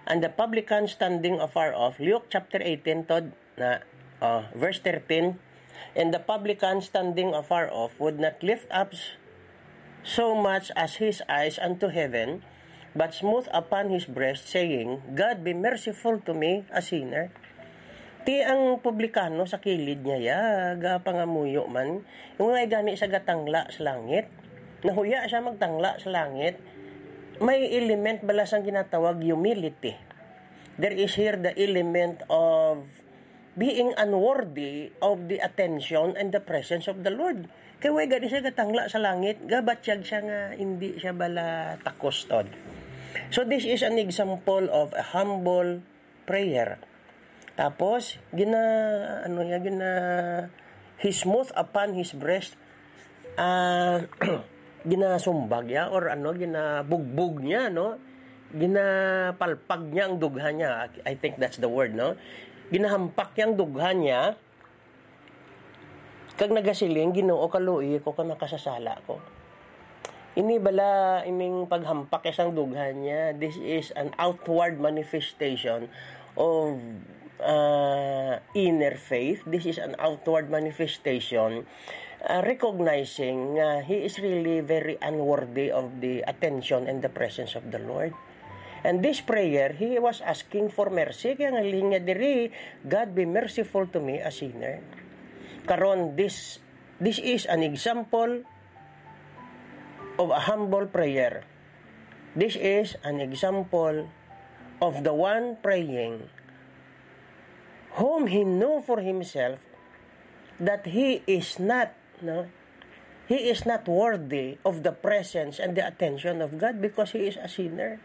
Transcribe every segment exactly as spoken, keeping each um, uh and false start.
And the publican standing afar off, Luke chapter eighteen, Todd, na, uh, verse thirteen, "And the publican standing afar off would not lift up s-, so much as his eyes unto heaven, but smote upon his breast, saying, 'God, be merciful to me, a sinner.'" Ti ang publikano sa kilid niya, ya, gapangamuyo man. Yung nga gani sa gatangla sa langit. Nahuya siya magtangla sa langit. May element bala sang ginatawag humility. There is here the element of being unworthy of the attention and the presence of the Lord. Kay way gani siya gatangla sa langit, gabatyag siya nga hindi siya bala takos, Todd. So this is an example of a humble prayer. Tapos, gina-, ano niya, gina-, he smote upon his breast, ah, ginasumbag niya, or ano, ginabugbog niya, no? Ginapalpag niya ang dughan niya. I think that's the word, no? Ginahampak niya ang dughan niya, kag nagasiling, "Ginoo, kaluoyi ko kay makasasala ko." Ini bala, ining paghampak sang dughan niya, this is an outward manifestation of, uh, inner faith. This is an outward manifestation, uh, recognizing nga he is really very unworthy of the attention and the presence of the Lord. And this prayer, he was asking for mercy. Kaya nga linya diri, "God, be merciful to me, a sinner." Karon, this, this is an example of a humble prayer. This is an example of the one praying whom he know for himself that he is not, no? He is not worthy of the presence and the attention of God because he is a sinner.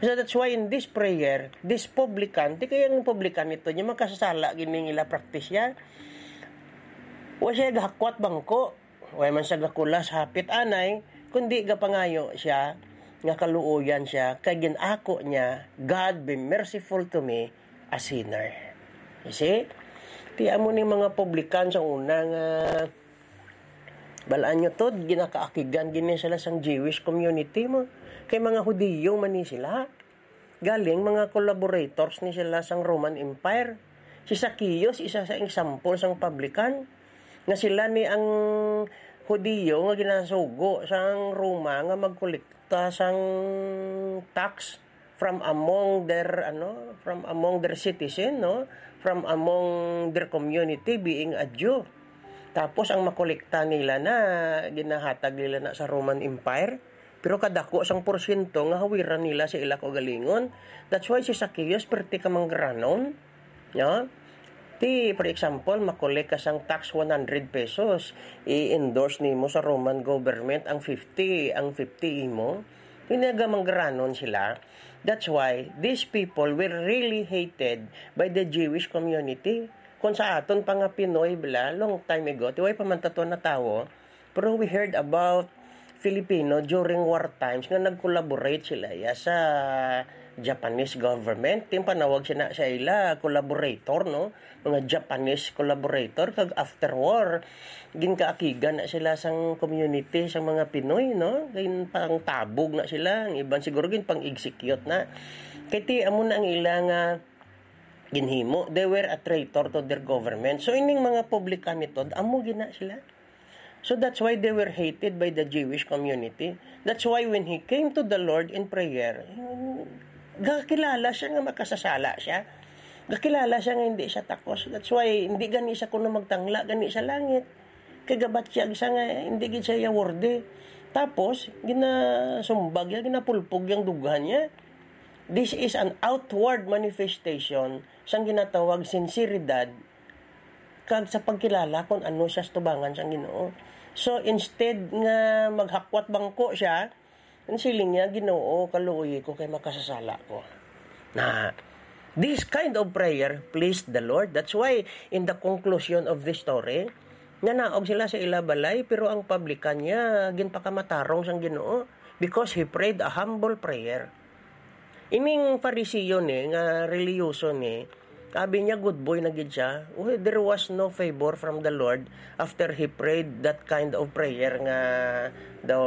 So that's why in this prayer, this publican, di kaya ang publican ito, niya makasasala gining ila practice niya. Wa siya gahakwat bangko, wa man siya gakulas hapit anay, kundi gapangayo siya nga kaluoyan siya, kay ginako niya, "God, be merciful to me, a sinner." You see? Ti amo ni mga publican sa una nga, balaan nyo to, ginakaakigan gini sila sang Jewish community mo. Kay mga Hudiyo man ni sila. Galing, mga collaborators ni sila sang Roman Empire. Si Zacchaeus, isa sa example sang publican. Nga sila ni ang Hudiyo nga ginasugo sang Roma nga magkolekta sang tax from among their, ano, from among their citizen, no? From among their community, being a Jew. Tapos ang makolekta nila na ginahatag nila na sa Roman Empire. Pero kadako sang porsyento nga hawiran nila sa ila kaugalingon. That's why si Zacchaeus perti ka manggaranon. No? Ti, for example, makolek ka sang tax one hundred pesos, i-endorse nimo sa Roman government ang fifty, ang fifty imo. Pinaga manggaranon sila. That's why these people were really hated by the Jewish community. Kung sa aton pa nga Pinoy, bala, long time ago, ti way pa man tato na tawo, pero we heard about Filipino during war times nga nag-collaborate sila, ya, sa Japanese government. Ti ang panawag sina sa ila, collaborator, no? Mga Japanese collaborator. Kag after war, ginkaakigan na sila sang community, sang mga Pinoy, no? Ginpangtabog na sila. Ang iban siguro ginpang-execute na. Kay ti, amo na ang ila nga ginhimo. They were a traitor to their government. So, ining mga publican ito, amo gina sila. So that's why they were hated by the Jewish community. That's why when he came to the Lord in prayer, gakilala siya nga makasasala siya. Gakilala siya nga hindi siya takos. That's why hindi gani siya kuno magtangla gani sa langit. Kay gabatyag siya nga hindi gid siya worthy. Tapos, ginasumbag niya, ginapulpog yung dughan niya. This is an outward manifestation sang ginatawag sinseridad kag sa pagkilala kon ano siya sa tubangan sang Ginoo. So, instead nga maghakwat bangko siya, ang siling niya, "Ginoo, kaluoyi ko kay makasasala ko." Na, this kind of prayer pleased the Lord. That's why, in the conclusion of this story, nanaog sila sa ila balay, pero ang publican niya, ginpakamatarong sang Ginoo because he prayed a humble prayer. Ining Fariseo ni, nga reliyoso ni, abi niya good boy na gid siya. Well, there was no favor from the Lord after he prayed that kind of prayer nga daw,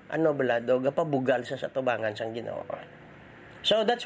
ano bala, daw gapabugal sa, sa tubangan sang Ginoo. So that's